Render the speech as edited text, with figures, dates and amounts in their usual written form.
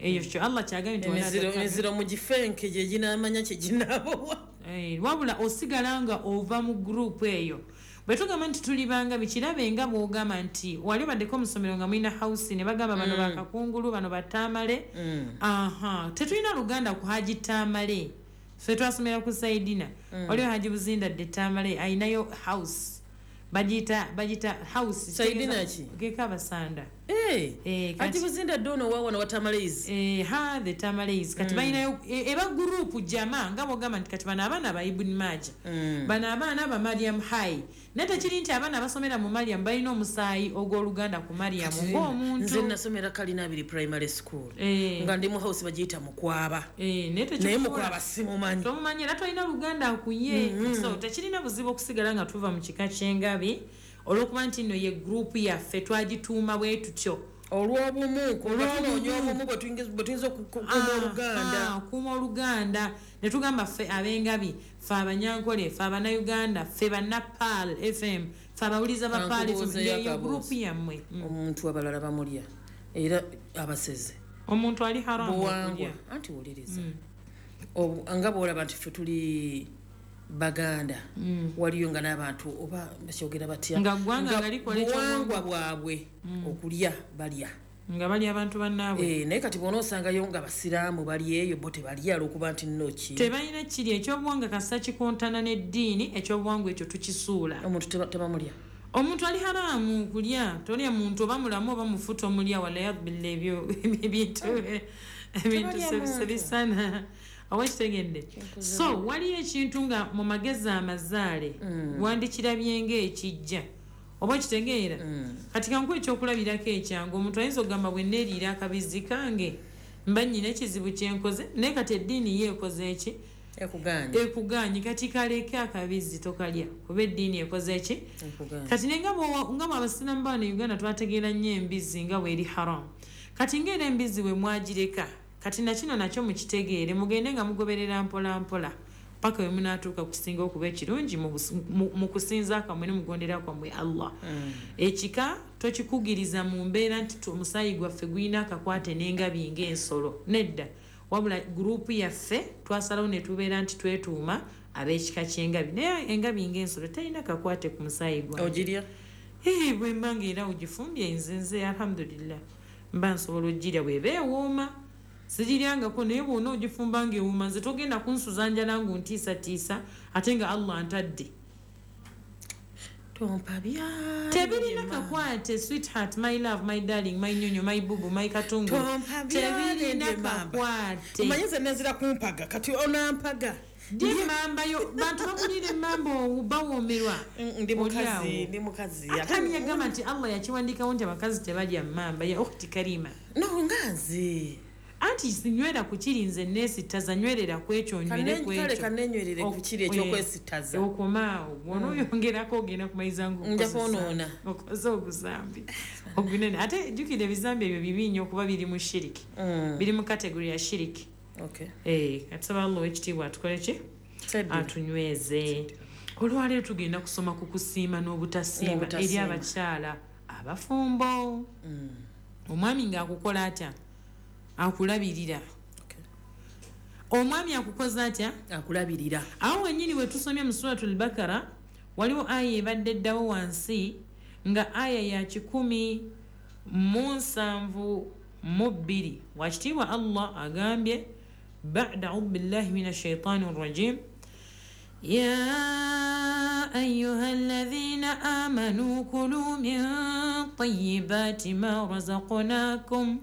Eyo kyo Allah kyagambye nti wala Emiziro tattabi. Emiziro mu gifenke gye ginaamanya kye ginaabowa. Wabula osigala nga ova mu gurupu eyo. Bwe tugamba nti tuli bangabi, kirabe nga bw'ogamba nti wali obaddeko mu ssomero nga mulina house ne bagamba bano bakakungulu, bano batamale. Aha, tetulina luganda ku Haji Tamale. Ffe twasomera ku Saidina. Waliwo Haji Buzinda dde Tamale ayinayo house, bagiyita house. Saidina ki? Geka abasanda. Haji Buzinda dde ono wawana wa Tamales? Ha, the Tamales. Kati balinayo eba gurupu jama, nga bwogamba nti kati bano abaana ba Ibn Maja, bano abaana ba Mariam High, naye tekiri nti abaana basomera mu Mariam balina omusaayi ogw'oluganda ku Mariam Nze ng'omuntu. Nasomera Kalina Abiri Primary School, nga ndi mu house bagiyita Mukwaba. Naye Naye tekikufuula- Mukwaba simumanyi. Tomumanyi era tolina luganda kuye, so tekirina buzibu okusigala nga tuva mu kika ky'engabi olw'okuba nti nno ye gurupu yaffe, twagituuma bwe tutyo. Olw'obumu, kuba Olw'obumu. tunoonya obumu bwe tuyinza okukuuma oluganda. Kuuma oluganda, ne tugamba ffe ab'engabi, ffe abanyankole, ffe abanayuganda, ffe banna Pearl FM, ffe abawuliza ba Pearl FM. Kankubuuzeeyo Yeyo akabuuzo. gurupu yammwe. Omuntu abalala bamulya era abaseze. Omuntu ali haramu Buwangwa. okulya. Anti wuliriza. Nga bwolaba nti ffe tuli Baganda, waliyo nga n'abantu oba bakyogera batya? Nga ggwanga nga likola Buwangwa bwabwe okulya balya. Nga bali abantu bannaabwe. Naye kati bwona osangayo nga basiraamu bali eyo, bo tebalya olwokuba nti nno ki? Tebalina kiri ekyobuwangwa. Kasita kikontana n'eddiini, ekyobuwangwa ekyo tukisuula. Omuntu tebamulya. Omuntu ali haramu kulya. Tolya muntu, oba mulamu oba mufu, tomulya. Walayabilla, ebyo ebintu Tebalya muntu. sebisana, oba kitegedde? So waliyo ekintu nga mu magezi amazaale wandikirabye ngaekijja, oba kitegeera? Kati kankuwa ekyokulabirako ekyangu. Omuntu ayinza okugamba, bwe neeriira akabizi kange mba nnyina ekizibu kyenkoze, naye kati eddiini ye ekoze eki? Ekuganye. Ekuganye. Kati kaleke akabizi, tokalya kuba eddiini ekoze eki? Ekuganye. Kati naye nga bwe abasiraamu baano e Uganda twategeera nnyo embizi nga bweri haram, kati ngaera embizi bwe mwagireka, kati nakino nakyo mukitegeere, mugende nga mugoberera mpola mpola paka we munaatuuka kusinga okuba ekirungi mu kusinza kwammwe ne mugondera kwammwe Allah. Ekika tokikugiriza mu mbeera nti omusaayi gwaffe gulina akakwate n'engabi ng'ensolo, nedda. Wabula gurupu yaffe twasalawo ne tubeera nti twetuuma ab'ekika ky'engabi, naye engabi ng'ensolo terina kakwate ku musaayi gwange. Ogirya? Bwe mba nga era ogifumbye, nze alhamdulillah mba nsobola ogirya bweba ewooma. Sigiryangako, naye bwona ogifumba nga ewooma, nze togenda kunsuza njala nguntiisatiisa ate nga Allah ntadde. Tompabya. Tebirina kakwate, sweetheart, my love, my darling, my nyonyo, my bubu, my katungulu. Tebirina kakwate. Omanyi nze nazira kumpaga, kati onampaga. Dye emambayo, bantu bakulira emamba, bawoomerwa. Ndi Oli awo. mukazi, ndi mukazi. Ate yagamba nti Allah yakiwandikawo nti abakazi tebalya mmamba, ya ukhti Karima? No, nga nze Anti sinywera ku kiri, nze neesittaza, nywerera ku ekyo, nywere ku Kale ekyo. kanenywerere ku kiri ekyokwesittaza. Okomaawo bwona oyongerako ogenda kumaliza nga Nja kwonoona. Okoze oguzambi ogunene. Ate jjukira, ebizambi ebyo bibi nnyo okuba biri mu shiriki. Biri mu category ya shiriki. Kati saba Allah owekitiibwa atukole ki? Seddu. Atunyweze. Olwaleero tugenda kusoma ku kusiima n'obutasiima eri N'obutasiima. abakyala abafumbo. Omwami ng'akukola atya? Akulabirira. Omwami akukoze atya? Akulabirira. Awo wennyini we tusomye mu Suratul Bakara, waliwo aya ebadde eddawo wansi nga aya ya 172. Wakitiibwa Allah agambye, bada audu billahi min ashaitani rrajim: يا أيها الذين آمنوا كلوا من طيبات ما رزقناكم.